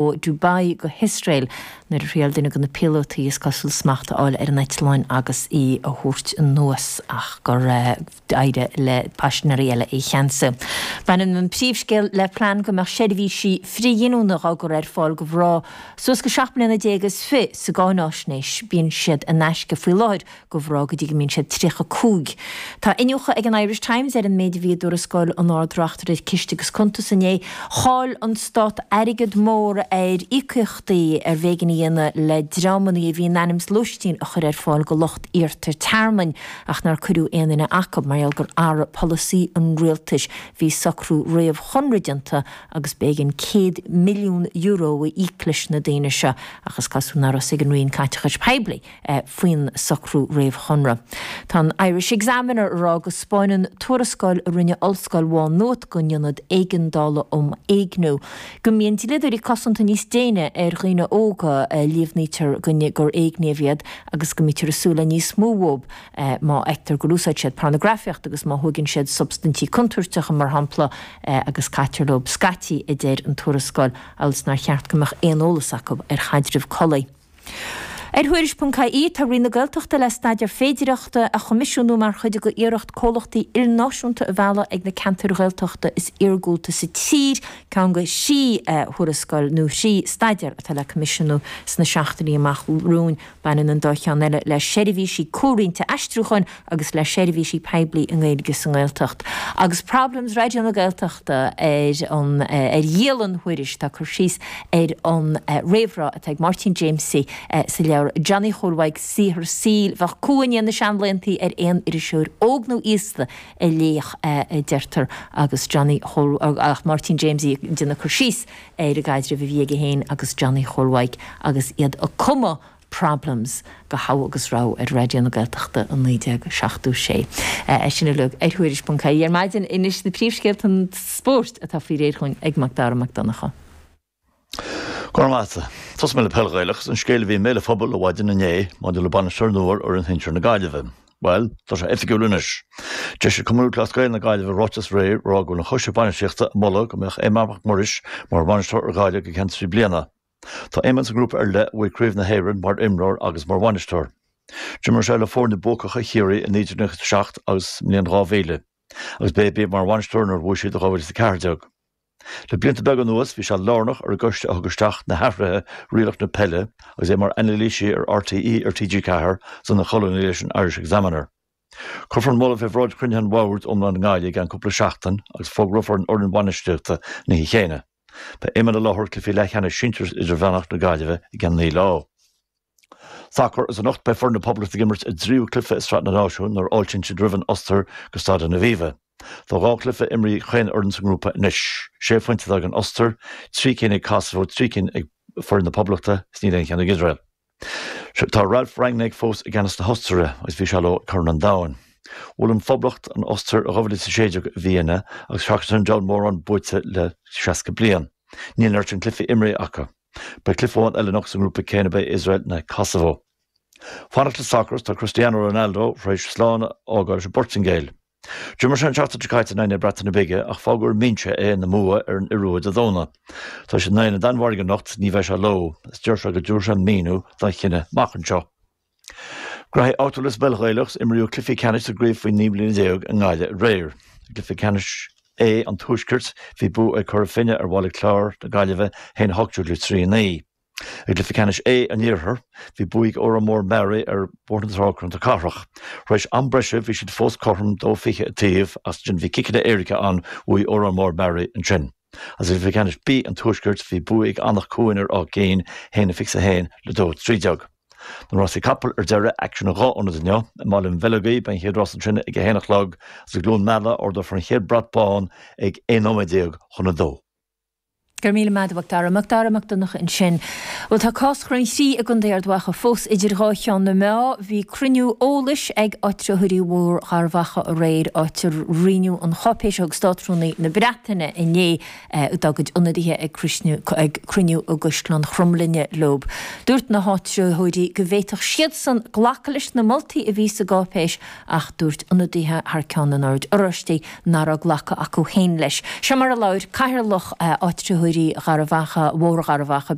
Ó Dubai go hIosrael nuair a thriail duine de na píolótaí is cosúil smacht a fháil ar an eitleán agus í a thabhairt anuas ach gur éirigh le paisinéirí eile é a cheansú. Baineann an príomhscéal le plean go mbeadh seirbhísí frithghiniúna á gcur ar fáil do mhná suas go 17 mbliana is fi sa gcáináisnéis. Bíonn siad in aisce faoi láthair do mhná go dtí go mbíonn siad 35. Tá iniúchadh ag an Irish Times ar an méid a bhí i dtuarascáil an Ard-Reachtaire Ciste agus Cuntas inné. Chaill an Stát airgead mór ar íocaíochtaí arbh éigean a dhéanamh le dreamanna a bhí in ainm is lóistín a chur ar fáil do lucht iarrta tearmainn ach nár cuireadh aon duine acu mar gheall gur athraigh polasaí an rialtais. Bhí socrú réamhchonradh déanta agus b'éigean €100 milliún a íoc leis na daoine seo ach is cosúil nár fhios ag an Roinn Caiteachais Poiblí faoin socrú réamhchonradh. Tá an Irish Examiner ag rá go 'spáineann tuarascáil a rinne Ollscoil Mhá Nuad don Ionad Éigeandála um Éigniú go mbíonn dlíodóirí cosanta níos déine ar dhaoine óga a líomhnaítear gur éigníodh iad agus go mbítear ag súil le níos mó uathu má fheictear gur úsáid siad pornagrafaíocht agus má thóigeann siad substaintí contúirteacha, mar shampla, agus caitear leo scaití, a deir an tuarascáil, amhail is nár cheart go mbeadh aon eolas acu ar chaidreamh collaí. Ar Thuairisc.ie, tá Roinn na Gaeltachta le staidéar féidireachta a choimisiúnú mar chuid de iarracht comhlachtaí ilnáisiúnta a mhealladh ag na ceantair Ghaeltachta is iargúlta sa tír, ceann de thrí thuarascáil nó thrí staidéar atá le coimisiúnú sna seachtainí amach romhainn. Baineann an dá cheann eile le seirbhísí comhroinnte aistriúcháin agus le seirbhísí poiblí i nGaeilge sa nGaeltacht. Agus Problems Raidió na Gaeltachta ar an ar dhialann Thuairisc, tá cur síos ar an réamhrá atá ag Máirtín Jaimsie sa leabhar Johnny Chóil Mhaidhc, Saothar Saoil. Bheadh cumha i ndiaidh na seanlaethanta ar aon iriseoir óg nó aosta a léifeadh é, a deirtear, agus Johnny Chóil ach Máirtín Jaimsie ag déanamh cur síos ar an gcaidreamh a bhí aige féin agus Johnny Chóil Mhaidhc agus iad ag cumadh Problems do Thogha agus Rogha ar Raidió na Gaeltachta i 1976. É sin uilig ar Thuairisc.ie ar maidin. Anois na príomhscéalta spóirt atá faoi réir chugainn ag Mac Dara Mac Donncha. Go raibh maith agat. Tosóidh mé le peil Ghaelach agus an scéal a bhí i mbéal an phobail ó mhaidin inné maidir le bainisteoir nua ar fhoireann shinsir na Gaillimhe. Bhuel, tá sé oifigiúil anois. D'eisigh Cumann Lúthchleas Gael na Gaillimhe ráiteas aréir ag rá go bhfuil an choiste bainistíochta ag moladh go mbeadh Éamonn Mac Muiris mar bhainisteoir ar Ghaillimh go ceann 3 bliana. Tá Éamonn sa ngrúpa ar leith a bhuaigh Craobh na hÉireann mar imreoir agus mar bhainisteoir. D'imir sé le foirne buacacha Chiarraí i 1997 agus sa mbliain 2000, agus b'é a bhí mar bhainisteoir nuair a bhuaigh siad i 2014. Le blianta beaga anuas bhí sé lárnach ar an gcoiste a thug isteach na hathruithe rialacha na peile agus é mar anailísí ar RTÉ ar TG4 is ina cholúnaí leis an Irish Examiner. Cuirfear an moladh fé bhráid chruinnithe an bhoird iomláin i nGaillimh i gceann cúpla seachtain agus fógrófar an fhoireann bhainistíochta an oíche chéanna. Beidh Éamonn i láthair ag cluichí leathcheannais sinsir is idirmheánach na Gaillimhe i gceann 9 lá. Sacar Is anocht beidh foireann na Poblachta ag imirt a dtríú cluiche i Sraith na Náisiún nuair a fháiltíonn siad roimh an Ostair go Staid an Aviva. Tá dhá chluiche imrithe ag chaon fhoireann sa ngrúpa anois. Sé phointe atá ag an Ostair, trí cinn ag Kosovo, trí cinn ag foireann na Poblachta is níl aon cheann ag Iosrael. Tá Ralf Rangnick fós i gceannas na hOstaire agus bhí sé leo ag Corn an Domhain. Bhuail an Phoblacht an Ostair i 2016 i Vienna agus seachas sin níl mórán buaite le 60 bliain. Níl an oiread sin cluichí imrithe acu. Beidh cluiche amháin eile anocht sa ngrúpa céanna beidh Iosrael in aghaidh Kosovo. Fanacht le sacar tá Cristiano Ronaldo tar éis slán a fhágáil leis an bPortaingéil. D'imir sé an tseachtain seo caite in aghaidh na Breataine Bige ach fágadh ar an mbinse é ina mbua ar an Iorua Dé Domhnaigh. Tá siad in aghaidh na Danmhairge anocht, ní bheidh sé leo, is deir sé go dtabharfaidh sé míniú dá chinneadh amach anseo. Graithí áitiúla sa bpeil Ghaelach, imríodh cluichí ceannais sa gcraobh faoi 19 mbliana i nGaillimh aréir. I gcluiche ceannais A an Tuaiscirt, bhí bua ag Cora Finne ar Bhaile Chláir na Gaillimhe, 1-18 le 3-9. I gcluiche ceannais A an Iarthair, bhí bua ag Órán Mór Meáraí ar Bhóthar na Trá Contae Cathrach. Tar éis am breise bhí siad fós cothrom 2-20 an taobh ach ansin bhí ciceanna éirice ann, bhuaigh Órán Mór Meáraí ansin. Agus i gcluiche ceannais B an Tuaiscirt bhí bua ag Anach Cuain ar Áth Cinn, 1-21 le 2-13. Na rásaí capall ar deireadh, aicsean i dhá ionad inniu. I mBaile an Bheilg beidh an chéad rás ansin ag a haon a chlog agus i gCluain Meala ardófar an chéad brat bán ag 11 nóiméad chun a dó. Go raibh míle maith agat, a Mhac Dara. Mac Dara Mac Donncha ansin. Bhuel, tá cás Chroim Chrí i gContae Ard Mhacha fós idir dhá cheann na meá. Bhí cruinniú eolais ag áitritheoirí Bhóthar Gharbh Achaidh aréir, áit ar roinneadh an cháipéis a thug Státrúnaí na Breataine inné dá gcuid ionadaithe ag cruinniú i gCaisleán Chromghlinne leo. Dúirt na háitritheoirí go bhféadfadh siadsan glacadh leis na moltaí a bhí sa gcáipéis ach dúirt ionadaithe thar ceann an Oird Oráistigh nach raibh glacadh acu féin leis. Seo mar a labhair Cathaoirleach áitritheoirí. Doirí Gharbhachaidh, Bhóthar Gharbhachaidh.